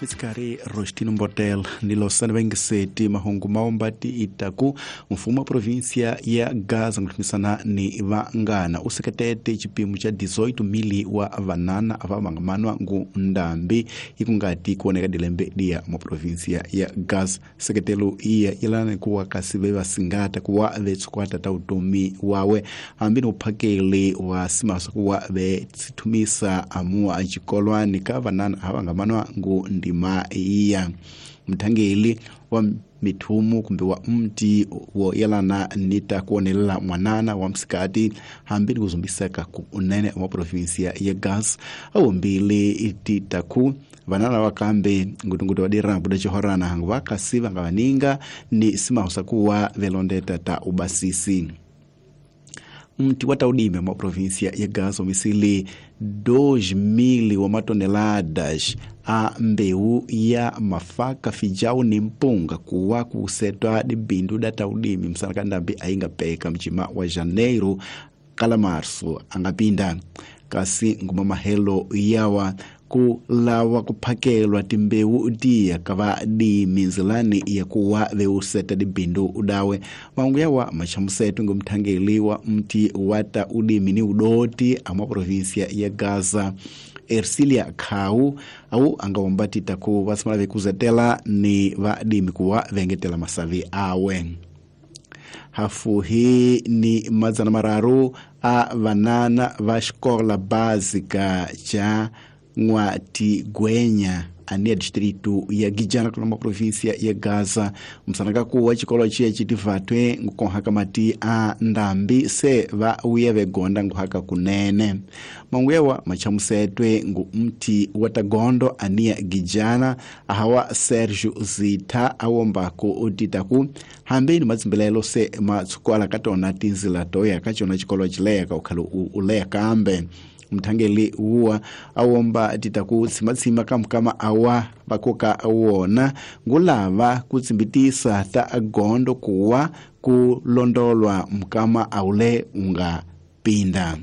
Mitsikari Rostino Mbotel ni Losana Vengiseti mahungu maombati itaku mfumo wa província ya Gaza nguthumisana ni vangana useketete chipimo cha 18 mili wa vanana ava vangamanwa ngu ndambi ikungati kuoneka dilembe dia mu província ya Gaza. Seketelo iya ilana kuwa kasi vevasingata kuwa vetsukwata ta utomi wawe hambi ni uphakeli wa simaso kuwa vetsithumisa amua chikolwani ka vanana ava vangamanwa ngu ndima iya. Mthangeli wa mithumu kumbe wa mti wo yelana nita kuonelela mwanana wa msikati hambi ni kuzumbiseka ku unene wa provinsia ya Gaza awumbili ititaku vanana wakambe ngutungutu wadira buda chihorana hangu vakasi vangavaninga ni simausa kuwa velondeta ta ubasisi. Mti wa taudime mwa província ya Gaza misili 2,000 wa matoneladas a mbeu ya mafaka fijau ni mpunga kuwa kusetwa dibindu da taudimi msana ndambi ainga peka mchima wa Janeiro kala Marso angapinda kasi nguma mahelo yawa kulawa kuphakelwa timbeu dia kava dimi nzilani ya kuwa veuseta dibindu udawe maungu yawa machamusetu ngumthangeli wa mti wata udimi ni udoti amwa província ya Gaza Ercilia Khau au angawombati taku vasimala vekuzetela ni vadimi kuwa vengetela masavi awe. Hafuhi ni madzana mararu a vanana va xikola básica cha N'watigwenya ania distrito ya Gijana kuna província ya Gaza msanaka kuwa chikolo chiya chitivatwe nkukonhaka mati a ndambi se va uye vegonda nkuhaka kunene manguyewa machamusetwe ngu mti watagondo ania Gijana ahawa Sergio Zita awombako otitaku hambi ni matsimbelelo se matsukwala katona tinzila toya kachona chikolo chileya kaukhalo uleya kambe. Mthangeli uwa awomba titaku tsimatsima kamkama awa vakoka wona ngulava kutsimbitisa ta agondo kuwa kulondolwa mkama aule unga pinda.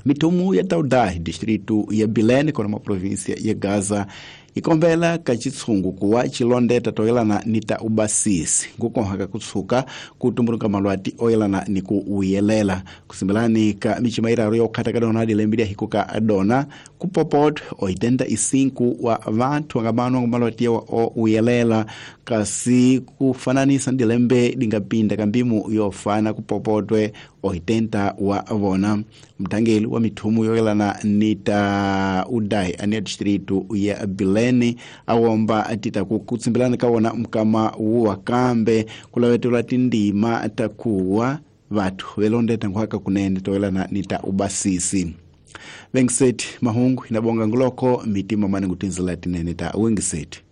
Mitumu ya Taudai distritu ya Bilene kona ma província ya Gaza ikombela kachitsungu kuwa chilondeta toyelana nita ubasisi nkukonhaka kutsuka kutumburuka malwati oyelana ni kuuyelela kusimbelani ka michima iraru ya ukhata kadona dilembi hikuka adona kupopot 85 wa vanthu angabanwa malwati yawa ouyelela kasi kufananisa ndilembe dingapinda kambimu yofana kupopotwe 80 wa vona. Mthangeli wa mithumu yoyelana nita udai ania distritu ya Bilene awomba atita kutsimbelana kawona mkama wuwa kambe kulawetelwa tindima takuwa vathu velondeta nkuhaka kunene toyelana nita ubasisi. Vengiseti mahungu inabonga nguloko mitima mane ngutinzila tinene ta wengiseti.